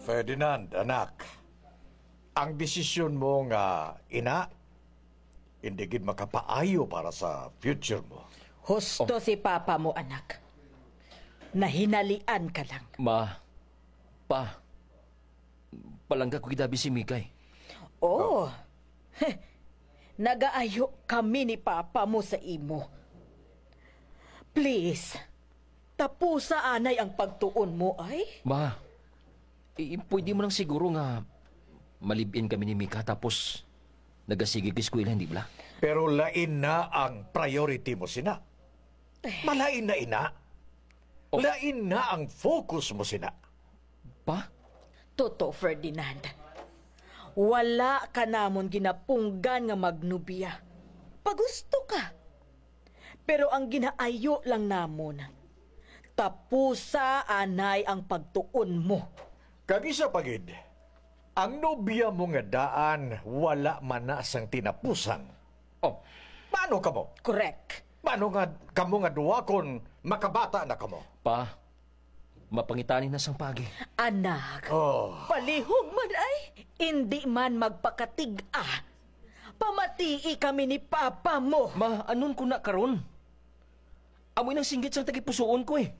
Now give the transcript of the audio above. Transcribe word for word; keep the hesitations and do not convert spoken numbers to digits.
Ferdinand, anak, ang desisyon mo nga ina, hindi gid makapaayo para sa future mo. Husto si Papa mo, anak. Nahinalian ka lang. Ma, Pa, palangga ko gid abi si Mikay. Oh, nagaayo kami ni Papa mo sa imo. Please, tapusa anay ang pagtuon mo, ay. Ma, i-, pwede mo lang siguro nga malibin kami ni Mika tapos nagasigi ka eskwela, hindi bala? Pero lain na ang priority mo sina. Malain na ina. Oh. Lain na ang focus mo sina. Pa? Toto, Ferdinand. Wala ka namon ginapunggan nga magnobya. Pagusto ka. Pero ang ginaayo lang namon, tapusa anay ang pagtuon mo. Kag isa pa gid, ang nobya mo nga daan wala man na sang tinapusan. Oh, paano kamo? Correct. Paano nga kamo nga duha kon makabata na kamo? Pa, mapangitani na sang pagi. Anak, Oh. palihog man ay, indi man magpakatig-a. Pamatii kami ni Papa mo. Ma, anon ko na karon? Amoy nang singgit sang tagipusoon ko eh.